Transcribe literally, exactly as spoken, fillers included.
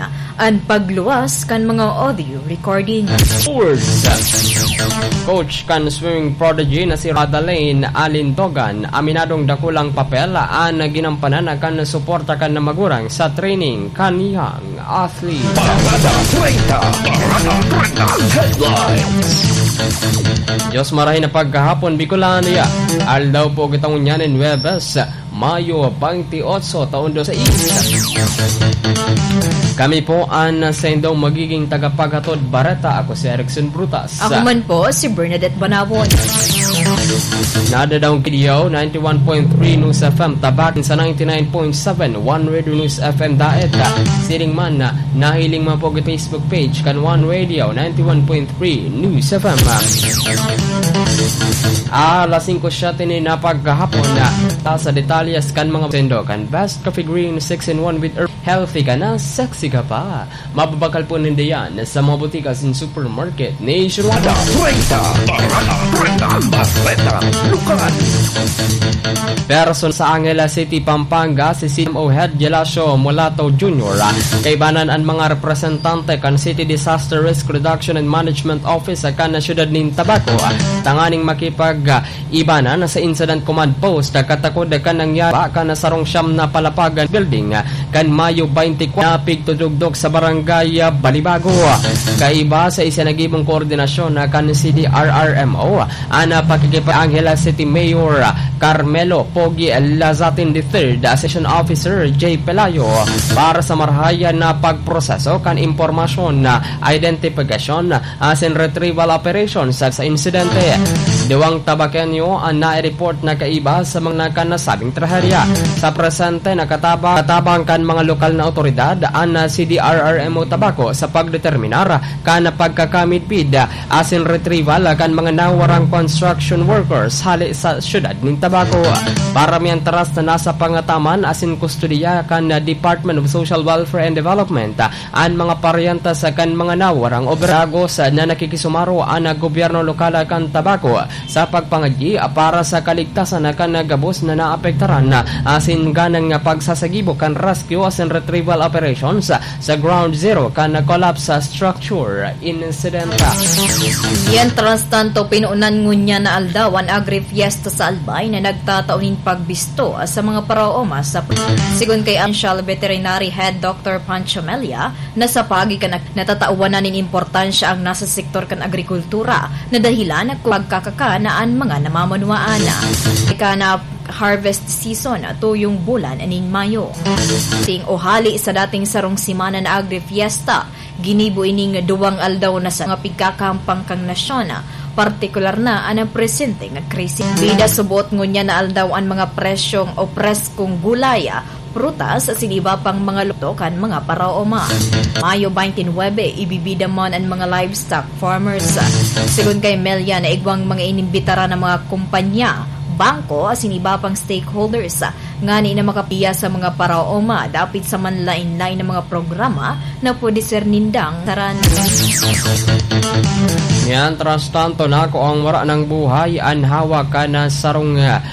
an pagluwas kan mga audio recording. Sports. Coach kan swimming prodigy na si Radalane Alindogan, aminadong dakulang papel an ginampanan kan suporta kan magurang sa training kaniyang athlete. Parada treinta, Parada treinta Headlines. Diyos marahay na pagkahapon, Bicolania. Aldaw po kita ngunyan nin Huwebes, Mayo twenty-eight, taon dos mil sais. Kami po an saindong magiging tagapaghatod bareta. Ako si Erickson Brutas. Ako man po, si Bernadette Banawon. Nadadaong K D O, ninety-one point three News F M Tabac, sa ninety-nine point seven One Radio News F M Daet. Siring man, nahiling man po ang Facebook page kan One Radio, ninety-one point three News F M. Alas singko siyete ni na paghahapon na ta sa detalyes kan mga sendo kan Best Coffee Green six in one with Herb. Healthy ka na, sexy ka pa. Mababakal po ninda yan sa mga botika asin supermarket nationwide. Parada treinta, Parada treinta, Bareta Lokal. Person sa Angeles City, Pampanga, si C M O Head Gelacio Mulato Junior, kaibanan an mga representante kan City Disaster Risk Reduction and Management Office kan siyudad nin Tabaco, tanganing makipag-ibanan sa Incident Command Post katakod kan nangyari kan sarong siyam na palapagan building kan Mayo twenty-four, napigtudugdok sa Barangay Balibago. Kaiba sa isinagibong koordinasyon kan C D R R M O, an pakikipag-Angeles City Mayor Carmelo Pogi Lazatin the third, Session Officer J Pelayo, para sa marahay na pagproseso kan impormasyon na identifikasyon asin retrieval operations sa, sa insidente. Duwang Tabaqueño an nai-report na kaiba sa mga nakanasabing trahedya. Sa presente, nakatabang, katabang kan mga lokal na otoridad an C D R R M O Tabaco sa pagdeterminar kan pagkakamidbid asin retrieval kan mga nawarang construction workers hale sa siyudad nin Tabaco. Para mientras na nasa pangataman asin kustodiya kan Department of Social Welfare and Development an mga paryente sa kan mga nawarang operagos na nakikisumaro an gobyerno lokal kan Tabaco sa pagpangadyi para sa kaligtasan kan gabos na naapektaran asin ganang pagsasagibo kan rescue asin retrieval operations sa Ground Zero kan collapse structure incident. Yan, tras tanto, pinunan ngunyan na aldaw an Agri-Fiesta sa Albay na nagtatao nin pagbisto sa mga paraoma sa, sigon kay Provincial Veterinary Head Doctor Pancho Melia, na sa pagi kan ag-, natatawan na nin importansya ang nasa sektor kan agrikultura na dahilan kung pagkakakan na an mga namamanuaan. Ika na harvest season, tuyong bulan nin Mayo. Ting ohali sa dating sarong semana na Agri-Fiesta, ginibo ining duwang aldaw na sa mga pigkakahampang kan nasyon, partikular na an presente nga krisis. Bida subot ngunyan na aldaw an mga presyong o preskong gulay, prutas, asin iba pang mga luto kan mga paraoma. Mayo twenty-nine, ibibida man an mga livestock farmers. Sigon kay Melia, naigwang mga inimbitaran na mga kompanya, bangko, asin iba pang stakeholders ngani na makapiya sa mga paraoma dapit sa manlain-lain na mga programa na pwede ser nindang taran. Mientras tanto, nako ang wara ng buhay an hawak kan sarong, ah,